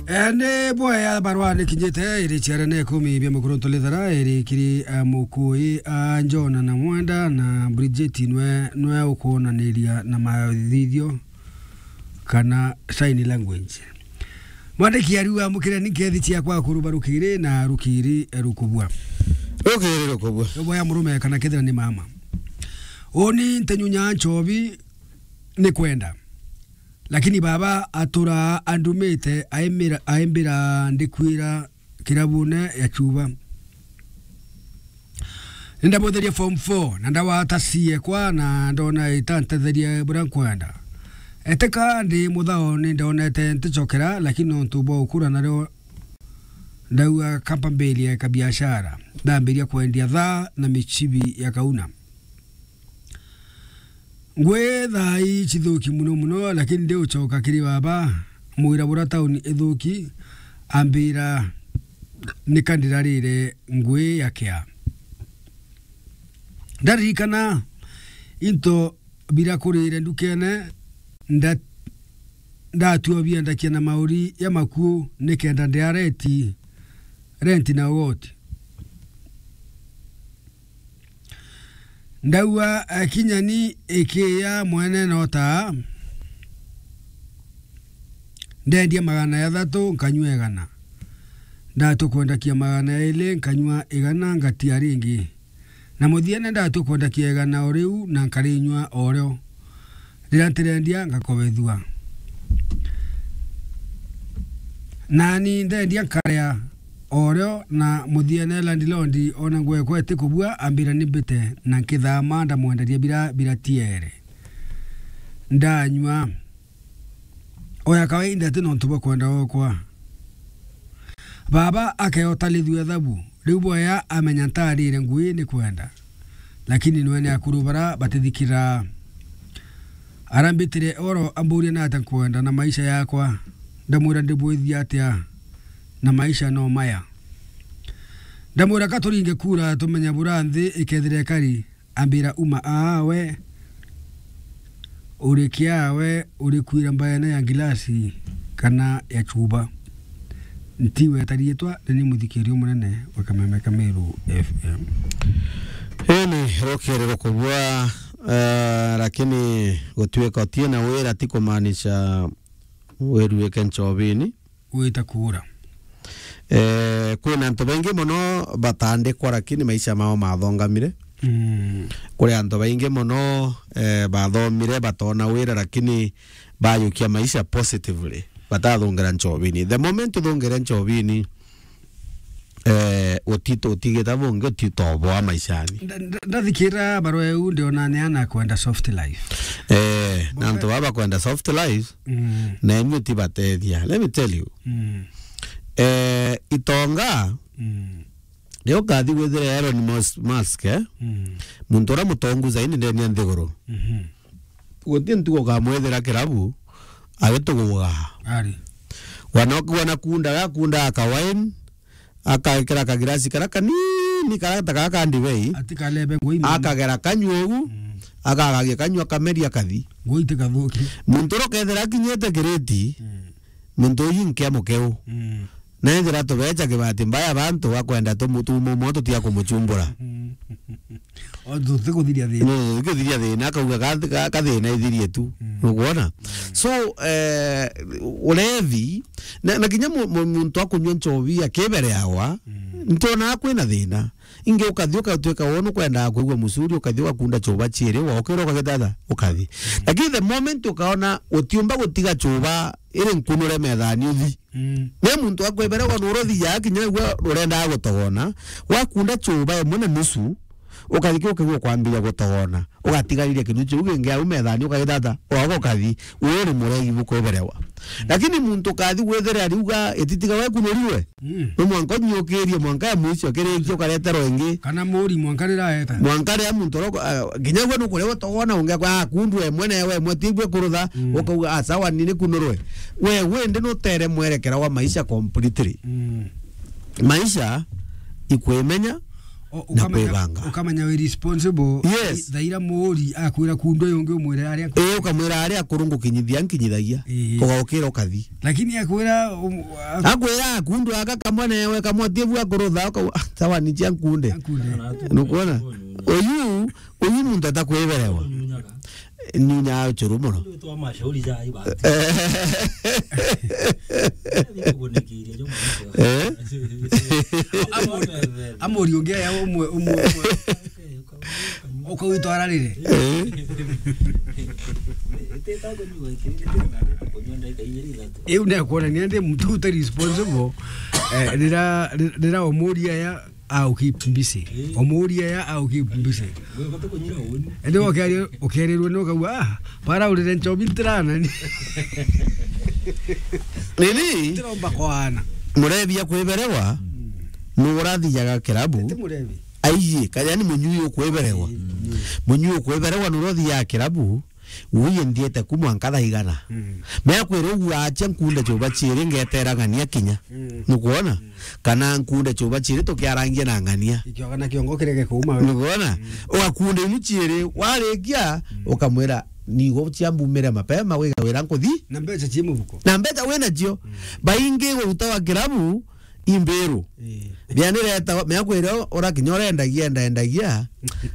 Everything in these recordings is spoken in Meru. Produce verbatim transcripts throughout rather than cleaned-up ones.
Eh, ni bwea barua ni kinyite, iri ciara na ikumi bia mukuru ntulithara, iri kiri, eh, Mukui, ah, John na Mwenda na Bridget nwe, nwe ukwonaniria na mathithio kana sign language. Mwandiki ariuga, "Mukire ni nkethi ciakwa kuruba rukiri na rukiri, eh, rukubua." Rukiri rukubua. Ni bwea murume kana kethira ni mama. Uni ntenyunya nchobi ni kwenda. Lakini baba atura andumite, aimira-, aimbira ndikwira kirabune ya Chuba. Nindamutheria form four, na ndawata ciekwa, na ndona itantetheria buria nkwenda. Eteka ndi muthao, nindonete nticokera, lakini nontu bwa ukura nario ndauga kamba mbirie kabiashara. Ndambiria kwendia thaa na michibi ya kauna. Ngui thaa ii cithuki muno muno, lakini ndi ucoka kiri baba, mwira bura tauni ithuki, ambira, "Nika ndirarire ngui ya kia." Ndaririkana into bira kurire ndukene, nda-, ndatua biendakia na mauri ya maku nikenda ndia reti, renti na ugoti. Ndaua, eh, kinya ni ikiya mwene nota, ndendia magana jathatu, nkanyua igana. Ndatua kwendakia magana jairi, nkanyua igana, ngatia ringi. Na muthiene ndatua kwendakia igana o riu, na nkarinyua o rio. Riria ntirendia, ngakobethua. Nani ndendia, nkaria o rio, na muthiene landlord ona ngwekwa itikubua, ambira ni mbite, na nkithama ndamwenderia bira, bira tiere. Ndanyua. O ya kawaida ti nontu bwa kwenda gwakwa. Baba akeota lithua ethabu, riu bwea amenya ntarire ngui ni kwenda. Lakini nwe ni akuru bara batithikira. Arambitire oro amburia nata nkwenda na maisha yakwa. Ndamwira ndibwithia atia na maisha no maya. Ndamwira ka turinge kura tumenya bura nthi ikethira ikari. Ambira, "Uma aa we, uri kia we, uri kwira mbaene ya ngilasi kana ya chuba." Ntiweta riitwa, ni ni muthikirio munene wa Kameme ka Meru F M. Ii ni rukiri rukubua, eh, lakini gutuika utie na wira ti kumaanisha wiruike nchobini. Gwita kuura. Eh, kwina antu baingi mono batandikwa, lakini maisha mao mathongamire. Mm. Kuri antu baingi mono, eh, bathomire, batona wira, lakini bayukia maisha positively, batathungira nchobini. The moment uthungire nchobini, eh, utito-, utigita bungi, utitoboa maishani. Nda-, nda-, ndathikira barua iu, ndiona ni ana kwenda soft life. Eh, na antu baba kwenda soft life, Mm. na imwe tibatethia. Let me tell you. Mm. Eh, itonga, Mm. riu ukathi gwithira Elon Mus-, Musk, eh? Mm. Muntu uria mutongu zaidi ndeni ya nthiguru. Mhm. Guti ntuku ukamwithira kirabu, agituguga. Ari. Wana, wana kunda, gakunda aka wine, akekira kagirasi karia kanini, karia ta gaka ndibei. Ati kalebe ngui mama. Akagera kanyua ugu, Mm. akagagia kanyua, kameria kathi. Ngui ti kathuki. Muntu uria ukethira akinyite kiriti, Mm. muntu uyu nkia mukeu. Mm. Na ethira tubecha kibati mbaya bantu bakwenda tumu-, tumo mo tutia kumuchumbura. Mm. O, tutikuthiria thina. No, tutikuthiria thina, akauga ka, ka, ka thina ithirie tu. Mm. Nukwona? Mm. So, eh, ulevi, na, na kinya mu-, mu-, muntu akunyua nchobi akibereawa, Mm. ntiona kwina thina. Ingi ukathi ukatwika wona ukwendaga kwigua mucuri, ukathi ugakunda chuba chiiri, wokira ukagitata, ukathi. Mm. Lakini the moment ukaona utiumba gutiga chuba iri nkunure methani uthi, Mm. ni muntu akweberewa nuruthi ya kinya igua urendaga gutogona, wakunda chuba imwe na nusu, ukathi ki ukigua kwambiria gutogona, ugatigarire kindu kiu kingi au methani, ukagitata, ugaga ukathi, uu ni muregi bukweberewa. Mm. Lakini muntu ukathi gwithire ariuga ititiga we kunurirwe, Mm. no mwanka unyiukirie, mwanka ya mwisho kirikia ukareterwa ingi. Kana muri mwanka riraeta. Mwanka riria muntu oro-, ah, kinya gwe nukuria gutogona ungi akwa akundwe mwe na we mwe tigwe kurutha, Mm. ukauga, "Ah, sawa, ni nikunurwe." We, we ndi nutere mwerekera wa maisha completely. Mm. Maisha ikwimenya, O-, na ukamenya, kwibanga. Ukamenya wi responsible. Yes. Thaira muri akwira kundu uyu ungi umwire aria aku- Ii, ukamwira aria akuru ngukinyithia nkinyithagia. Ii. Ugaukira ukathi. Lakini akwira, um, a- Akwira kundu aka kamwe newe kamwe tibu akurutha uka-, ah, sawa ni cia nkunde. Nkunde. Nukwona? Uyu, uyu muntu atakwiberewa. Ni nya uchuru muno. Twa mashauri ja iba. Eh. Eh? Amuri, amuri ungi aya umwe, umwe, umwe. Ukawitwara riri? Eh? Iu nekwonania ndi muntu uta responsible. Eh, rira, rira umuria ya au keep busy. Eh. Umuria ya au keep busy. Ende ukerirwo ni ukauga, "Ah, bara urire nchobi ntirana ni." Nini? Ntiromba kwana. Murebi akwiberewa, mm, nurathijaga kirabu. Ti murebi. Aiji, kajani munyui ukwiberewa. Mm. Munyui ukwiberewa nurathijaga kirabu. Uye nthiete ku mwanka thaa igana. Mm. Meakwira uguo acha nkunde chuba chiiri ngetera ng'ania kinya. Mm. Nukwona? Mm. Kana nkunde chuba chiiri tukiarangia na ng'ania. Ikioga na kiongo kirege kuuma we. Nukwona? Mm. Ugakunde imu chiiri, warikia, mm, ukamwira, "Nigo cia mbumire mapema, wiga wira nkuthi." Na mbecha chi mubuko. Na mbecha wina cio. Mm. Baingi guta wa kirabu, imbiru. Ii. Bia nireta, meakwira urakinya urendagia, endaendagia,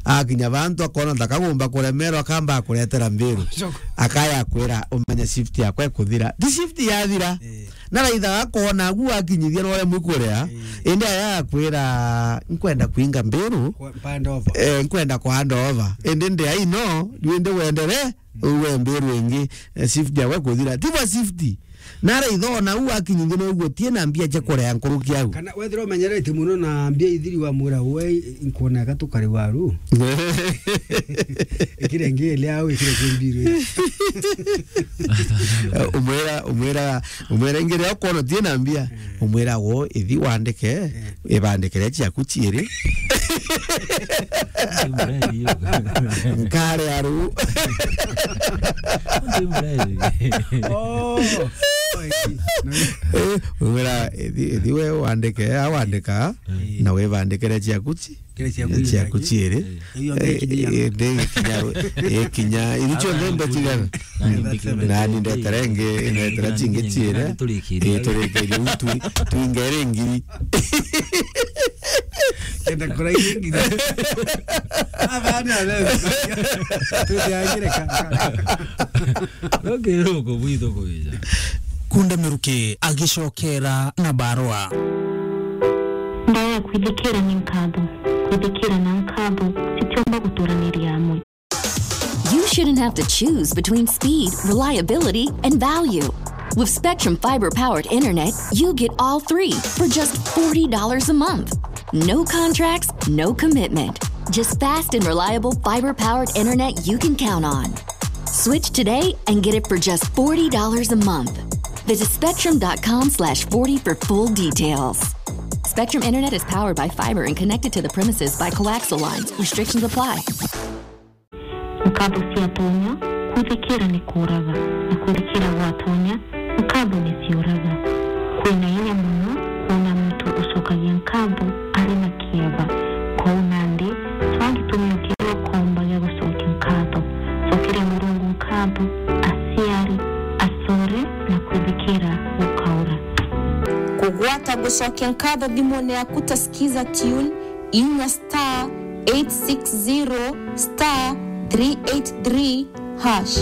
akinya bantu akona ntakagomba kuremerwa, akamba kuretera mbiru. Choko. Akaya kwira, "Umenye shift yakwa ikuthira." Ti shift yathira. Ii. Na raitha akona agu akinyithia na uria mwikuria, ii, indi aya akwira, "Nkwenda kuinga mbiru." Kwa, hand over. Eh, nkwenda ku hand over. Indi ndi aino, riu indi wendere, uwe mbiru ingi, eh, shift yakwa ikuthira. Ti bwa shift. Naraitha ona u akinyithia na uguo tie na mbia cia kurea nkuruki au. Kana wethira umenyerete muno na mbia ithiri wa mwira we, nkuona eka tukari waru. Ikire ngi ile au ikire kimbiru. Umwira, umwira, umwira ingi ria ukoona tie na mbia. Mm. Umwira wo ithi wandike, mm, ibandikire ciaku ciiri. Nkare aru. Oh. Eh, wira, ithi, ithi we wandike, awandika, mm, na wibandikire ciaku ci-, kire ciaku ciiri. Iyo ngikinya. Eh, eh, ngikinya ru-, eh, kinya, iru cionthe ndetigana. Nani ndetere ngi, ndetere cingi ciiri. Eh, turikirie u twi-, twingere ngiri. Kenda kuraithia nginya. Abana leo. Tuteagire ka. Rokero kubwitho kuija. Kunde Miruki agicokera na barua. Ndawa ya kwithikira ni nkatho. Kwithikira na nkatho citiumba guturaniria amwe. You shouldn't have to choose between speed, reliability, and value. With Spectrum Fiber Powered Internet, you get all three for just forty dollars a month. No contracts, no commitment. Just fast and reliable fiber powered internet you can count on. Switch today and get it for just forty dollars a month. Visit spectrum dot com slash forty for full details. Spectrum Internet is powered by fiber and connected to the premises by coaxial lines. Restrictions apply. Nkatho ciatonya kwithikira ni kuuraga, na kwithikira gwatonya nkatho ni ciuraga. Kwina inya mono kwona muntu ucokagia nkatho ari na kieba. Kou nandi, cwaa gitumio kiria ukomba gia gucokia nkatho. Cokeria Murungu nkatho, aciari, acore, na kwithikira gukaura. Kugwata gucokia nkatho thimune yaku ta Skiza Tune, inya star eight six zero star three eight three hash.